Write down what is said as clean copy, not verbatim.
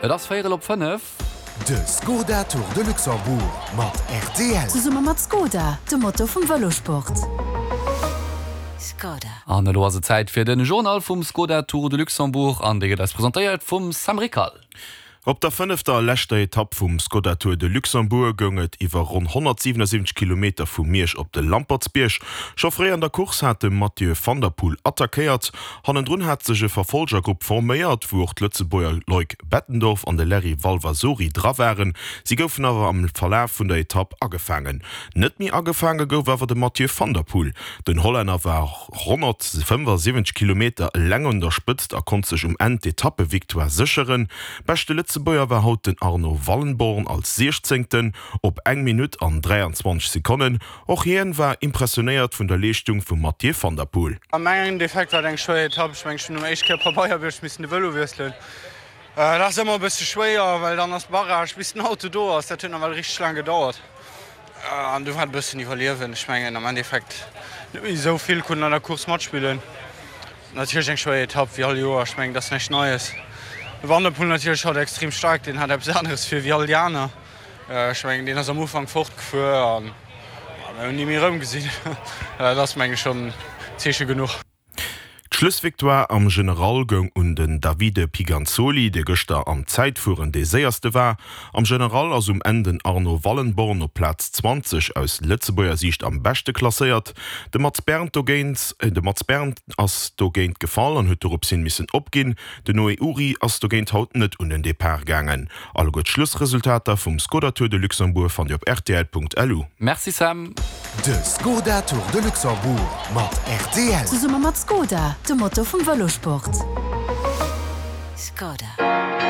Et ass véierel op 5. De Skoda Tour de Luxembourg mat rtl. Zesumme mat Skoda, dem Motor vum Vëlosport. Skoda. An elo ass et Zäit fir den Journal vum Skoda Tour de Luxembourg an dee gëtt eis presentéiert vum Sam Rickal. Op der fënnefter a leschter Etapp vum Skoda Tour de Luxembourg goung et iwwer ronn 177 Kilometer vu Miersch op de Lampertsbierg. Scho fréi an der Course hat de Mathieu van der Poel attackéiert. Hannendrun hat sech e Verfolgergrupp forméiert, wou och d'Lëtzebuerger Loic Bettendorf an de Larry Valvasori dra waren. Si goufen awer am Verlaf vun der Etapp agefaangen. Net méi agefaange gouf awer de Mathieu van der Poel. Den Hollänner war 175 Kilometer eleng un der Spëtzt a konnt sech um Enn d'Etappevictoire sécheren. Beschte Lëtzebuerger war haut den Arno Wallenborn als Siechzéngten op eng Minutt an 23 Sekonnen. Och hien war impressionéiert vun der Leeschtung vum Mathieu van der Poel. Am Endeffekt war et eng schwéier Etapp. Ech mengen, ech hunn um éischt Kéier Pabeierbierg missen de Vëlo wiesselen. Dat ass ëmmer e bësse schwéier, well dann ass Barrage bis den Auto do ass. Dat huet nawell richteg laang gedauert. An du war et e bëssen iwwerliewen. Ech mengen am Endeffekt net méi esou vill konnten an der Course matspillen. Natierlech eng schwéier Etapp wéi all Joer, ech mengen dat ass näischt Neies. De Van der Poel natierlech haut extrem staark, deen hat eppes aneres vir wéi all déi aner. Ech mengen deen ass am Ufank fortgefuer an mir hunn ni méi erëmgesinn. Dat ass menge schonn Zeeche genuch. D'Schlussvictoire am General goung un den Davide Piganzoli, dee gëschter am Zäitfueren dee séierste war. Am General ass um Enn den Arno Wallenborn op Plaz 20 aus Lëtzebuerger Siicht am beschte klasséiert. De Mats Berndt dogéint de Mats Berndt ass dogéint gefall an huet dorops hin missen opginn. Den Noé Uri ass dogéint haut net un den Depart gaangen. Alleguer d'Schlussresultater vum Skoda Tour de Luxembourg fannt Dir op rtl.lu. Merci Sam. De Skoda Tour de Luxembourg mat rtl. Zesumme mat Skoda, dem Motor vum Vëlosport. Skoda.